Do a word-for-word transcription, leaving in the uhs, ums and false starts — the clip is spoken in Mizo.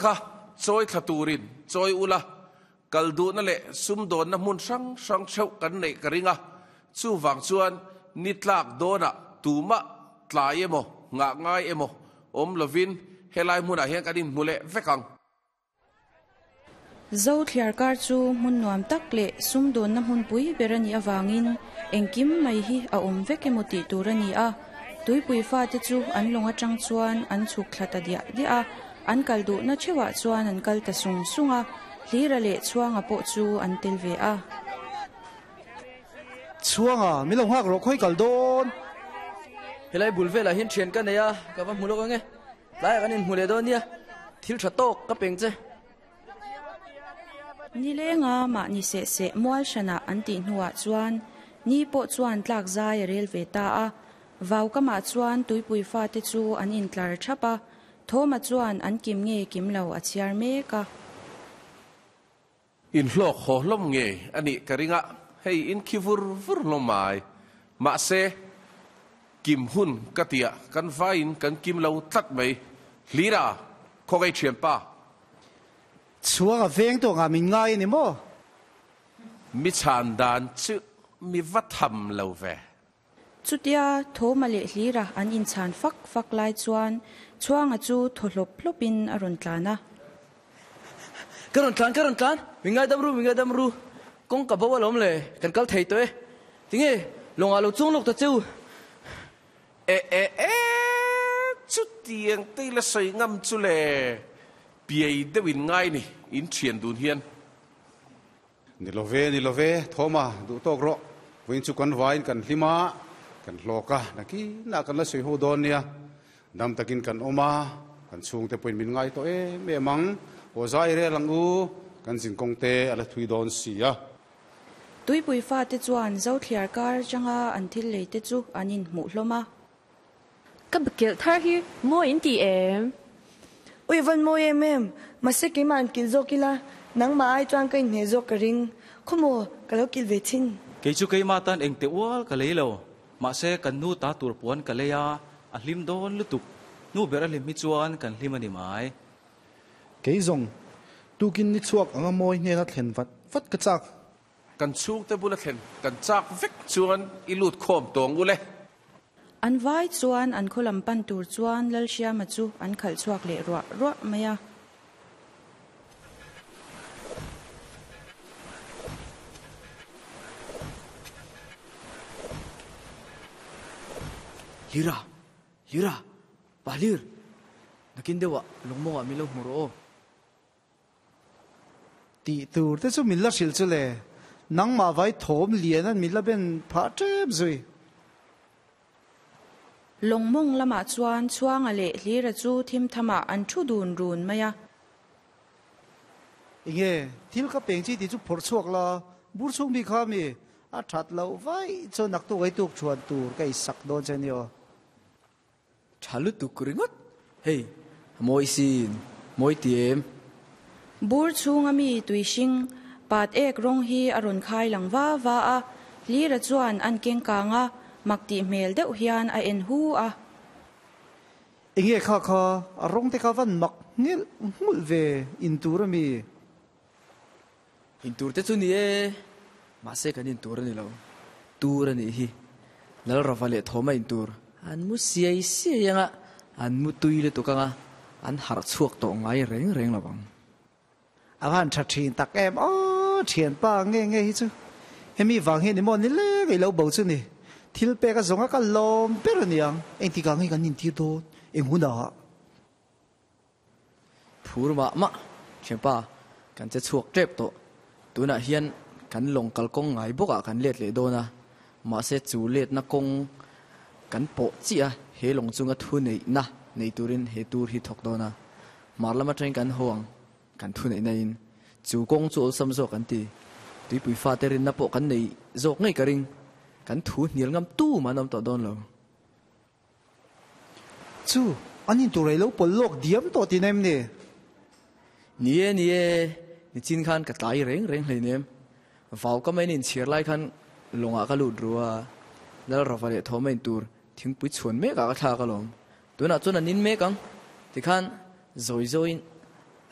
kha chawi thla turin chawi ula kal duhna leh sumdawnna hmun hrang hrang theuh kan neih ka ring a chu wang chuan ni tlak dawnah tumah tlai emaw ngah ngai emaw awm lovin helai hmunah hian kan inhmu leh vek ang. Zo thliar kar chu hmun nuam tak leh sumdawnna hmun pui ber a nih avangin engkim mai hi a awm vek emaw tih tur a ni a. Tuipui fa te chu an lawng atang chuan an chhuk thla ta diah diah a, an kal duhna theuhah chuan an kal ta sung sung a, Hlira leh Chhuanga pawh chu an tel ve a. Chhuanga, min lo nghak rawh khawi kal dawn. Helai bul velah hian thian ka nei a, ka va hmu lawk ange. Tlaiah kan inhmu leh dawn nia, thil tha tawk ka peng che. Nilenga mahni seh seh mual hranah an tih hnuah chuan ni pawh chuan tlak zai a rel ve ta a. Vau kamah chuan tuipui fate chu an intlar thap a, Thawma chuan an kim nge kim lo a chhiar mek a. Inhlawk haw hlawm nge a nih ka ring a, hei in khi vur vur hlawm mai. Mahse, kim hun ka ti a, kan vaiin kan kim lo tlat mai. Hlira, khawngaih thianpa. Chhuanga veng tawh ngah min ngai a ni maw? Mi chhan dan chu mi va tham lo ve. Chutia Thawma leh Hlira an inchhan fak fak lai chuan Chhuanga chu thaw hlawp hlawpin a rawn tlan a. Ka rawn tlan, ka rawn tlan, min ngaidam ru, min ngaidam ru, kawng ka bo alawm le, kan kal thei tawh e. Tinge, lawngah lo chuang lawk ta che u. E e e, chutiang te ila sawi ngam chu le, piai deuh in ngai ni, in thian dun hian. Ni lo ve, ni lo ve, Thawma, duh tawk rawh. Vawiin chu kan vaiin kan hlim a, kan hlawk a, nakinah kan la sawi ho dawn nia. Dam takin kan awm a, kan chhungte pawhin min ngai tawh em em ang. Aw zai rel ang u, kan zinkawng te a la thui dawn si a. Tuipui fate chuan Zothliar kar atanga an thil lei te chu an inhmuh hlawm a. Ka bakilh thar hi mawi in ti em? Ui van mawi em em, mahse keimah an kilh zawk ila, nangmah ai chuan ka inhmeh zawk ka ring. Khawmaw, ka lo kilh ve thin. Kei chu keimah tan engte ual ka lei lo, mahse kan nu ta tur puan ka lei a, a hlim dawn lutuk. Nu ber a hlim hi chuan kan hlim a ni mai. Kei zawng, tukin ni chhuak anga mawi hnena thlen vat vat ka chak. Kan chhungte bula thlen kan chak vek chuan i lut khawm tawng u le. An vai chuan an khaw lam pan tur chuan Lalhriama chu an khalh chhuak leh ruah ruah mai a. Lira! Lira! Pa Lir! Nakin deuhah lungmawngah min lo hmu rawh aw. Tih tur te chu min la hrilh chu le, nangmah vai thawm lian an min la ben phah tep zui. Lawngmawng lamah chuan Chhuanga leh Hlira chu thim thamah an thu dun run mai a. Enge thil ka peng chi tih chu phawrh chhuak la, bur chhung mi kha mi a that loh vaih chuan naktuk ei tuk thuan tur ka i sak dawn che ni aw. Tha lutuk ringawt, hei a mawi sin, mawi ti em? Bur chhunga mi tui hring, pat ek rawng hi a rawn khai lang va va a, Hlira chuan an keng kang a, mak tih hmel deuh hian a en hu a. Enge kha kha, a rawng te kha van mak nghilh nghulh ve in tur a mi? In tur te chu ni e, mahse kan in tur a ni lo, tur a nih hi. Lalrava leh Thawma in tur an mu siai siai anga, an mu tui lutuk anga, an harh chhuak tawh ngai reng reng lo ang. A van tha thin tak em aw, thianpa nge nge hi chu hemi vang hian emaw ni leng i lo bo chu ni. Thil pek a zawnga ka lawm ber a niang, engtikah nge kan intir dawn, eng hunah? Phur mah mah, thianpa, kan che chhuak tep tawh. Tunah hian kan lawng kalkawng ngai bawkah kan let leh dawn a, mahse chu letna kawng kan pawh chiah a, he lawng chunga thu neihna nei turin he tur hi thawk dawn a. Hmar lam atangin kan haw ang, kan thu neihna in chu kawng chu awlsam zawk an ti. Tuipui fate rinna pawh kan nei zawk ngei ka ring, kan thu hnial ngam tu mah an awm tawh dawn lo. Chu, an intur ei lo pawl lawk diam tawh tih na em ni? Ni e, ni e, nichin khan ka tlai reng reng hleinem. Vau ka main inchhiar lai khan lawngah ka lut ru a, Lalrava leh Thawma intur thingpui chhuan mekah ka thlak alawm. Tunah chuan an in mek ang, tikhan zawi zawiin